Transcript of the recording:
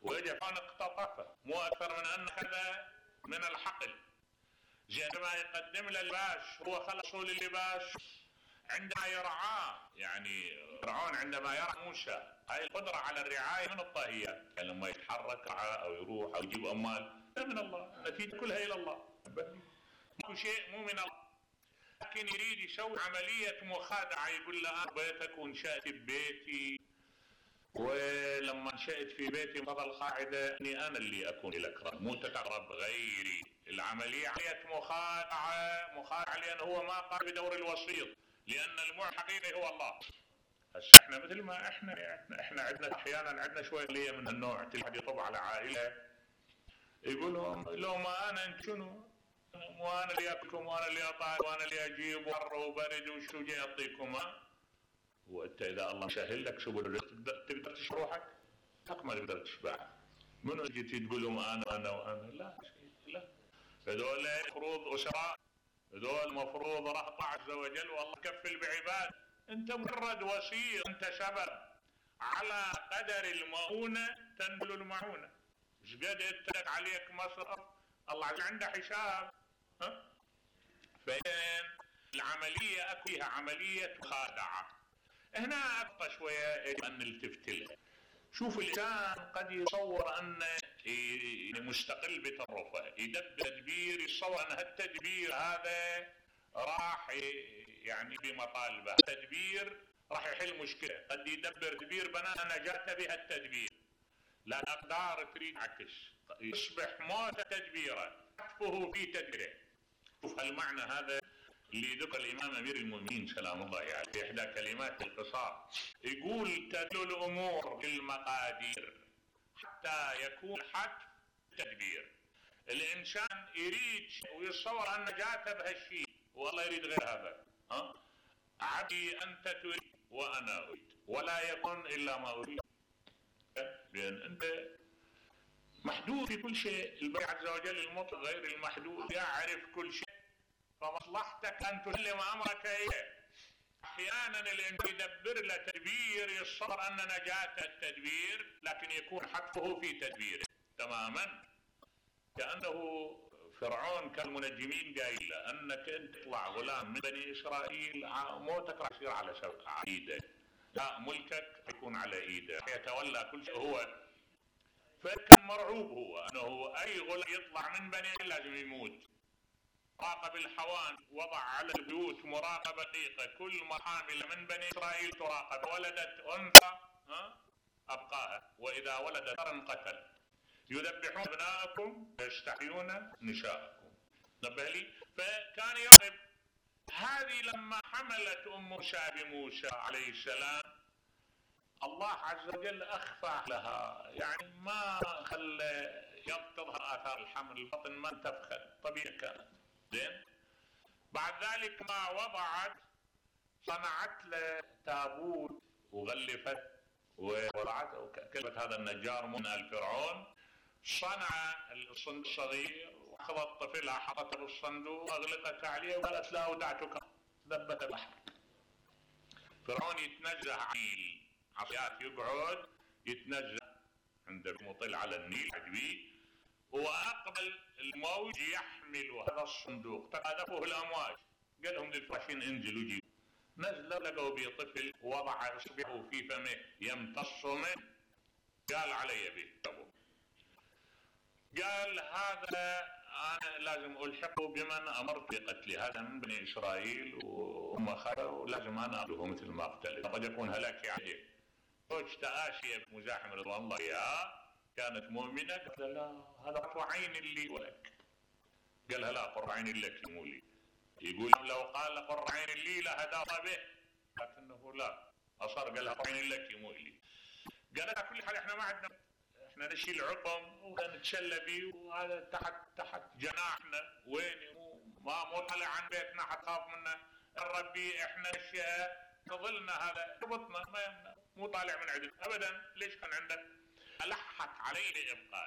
وإجا فان اقتطفه، مو أكثر من أن هذا من الحقل. عندما يقدم له اللباش هو خلصوا للباش عندما يرعاه، يعني فرعون عندما يرعى موسى هاي القدرة على الرعاية من الطاهيات، يعني لما يتحرك أو يروح أو يجيب أموال من الله، النتيجة كلها إلى الله، مو شيء مو من الله. لكن يريد يسوي عملية مخادعة، يقول له أنا بيتك ونشأت ببيتي، ولما نشأت في بيتي فضل القاعدة أني أنا اللي أكون لك رب، مو تقرب غيري. العملية عملية مخادعة لأنه هو ما قام بدور الوسيط، لأن المعطي الحقيقي هو الله. هسه احنا مثل ما احنا عندنا احيانا عندنا شويه ليه من النوع، تلحد يطب على عائله يقول لهم لو ما انا انت شنو؟ وانا اللي اكلكم وانا اللي اطالب وانا اللي اجيب وحر وبرد وشو جاي اعطيكم ها؟ وانت اذا الله مسهل لك سبل الرزق تقدر تشبع روحك؟ ما تقدر تشبع. منو جيتي تقول لهم انا وانا؟ لا هذول مفروض اسراء، هذول مفروض رهط عز وجل والله كفل بعباد، انت مجرد وسيط، انت سبب. على قدر المؤونة تنبل المعونة. ايش قد اتلك عليك مصرف الله عنده حساب. فإن العملية اكو فيها عملية مخادعة. هنا ابقى شوية يجب ان نلتفت لها. شوف الانسان قد يصور ان مستقل بتصرفه، يدبر تدبير، يتصور ان هالتدبير هذا راح يعني بمطالبه، التدبير راح يحل مشكله، قد يدبر تدبير بناء نجاته بهالتدبير، لا الاقدار تريد عكس، يصبح موت تدبيره حتفه في تدبيره. شوف هالمعنى هذا اللي ذكر الامام امير المؤمنين سلام الله عليه يعني في احدى كلمات القصار، يقول تدل الامور بالمقادير حتى يكون حتف تدبير. الانسان يريد ويتصور ان نجاته بهالشيء والله يريد غير هذا. عبدي انت تريد وانا اريد ولا يكون الا ما اريد، لان انت محدود في كل شيء. الباري عز وجل المطلق غير المحدود يعرف كل شيء، فمصلحتك ان تسلم امرك اليه. احيانا الانسان يدبر له تدبير يصور ان نجاته التدبير، لكن يكون حتفه في تدبيره تماما. كانه فرعون كان المنجمين قايل له انك انت تطلع غلام من بني اسرائيل موتك راح يصير على ايده، لا ملكك يكون على ايده، يتولى كل شيء هو. فكان مرعوب هو انه اي غلام يطلع من بني لازم يموت. راقب الحوان، وضع على البيوت مراقبة دقيقة، كل حامل من بني اسرائيل تراقب، ولدت انثى ابقاها، واذا ولدت ذكرا قتل. يذبحون ابناءكم ويستحيون نساءكم. نبه لي. فكان يضرب. هذه لما حملت ام موسى بموسى عليه السلام الله عز وجل اخفى لها، يعني ما خلى تظهر اثار الحمل، البطن ما انتفخت طبيعي كانت. زين. بعد ذلك ما وضعت صنعت له تابوت وغلفت ووضعته. كلمة هذا النجار من آل فرعون صنع الصندوق الصغير واخذ الطفل حطته بالصندوق واغلقت عليه وقالت لا اودعتك، ذبت البحر. فرعون يتنزه عن العصيات، يقعد يتنزه عند مطل على النيل عجبي، واقبل الموج يحمل هذا الصندوق، تقاذفه الامواج. قال لهم للفراشين انزلوا جيبوا. نزلوا لقوا به طفل وضع اصبعه في فمه يمتص منه، قال علي به. قال هذا انا لازم الحقه بمن امرت بقتله، هذا من بني اسرائيل وهم خلوا لازم انا اقتله مثل ما قتله، قد يكون هلاكي عليه. زوجته آسيا مزاحم رضوان الله اياها كانت مؤمنه، قالت لا هذا قرة عين لي ولك. قالها لا قرة عين لك مو لي. يقول لو قال قرة عين لي لهدى به، لكنه لا اصر قالها قرة عين لك مو لي. قالت على كل حال احنا ما عندنا، احنا نشيل عظم ونتسلى به وهذا تحت جناحنا، وين مو طالع عن بيتنا حتخاف منه الربي، احنا اشياء تظلنا هذا ربطنا ما مو طالع من عندك ابدا. ليش كان عندك؟ الحت عليه لابقاء.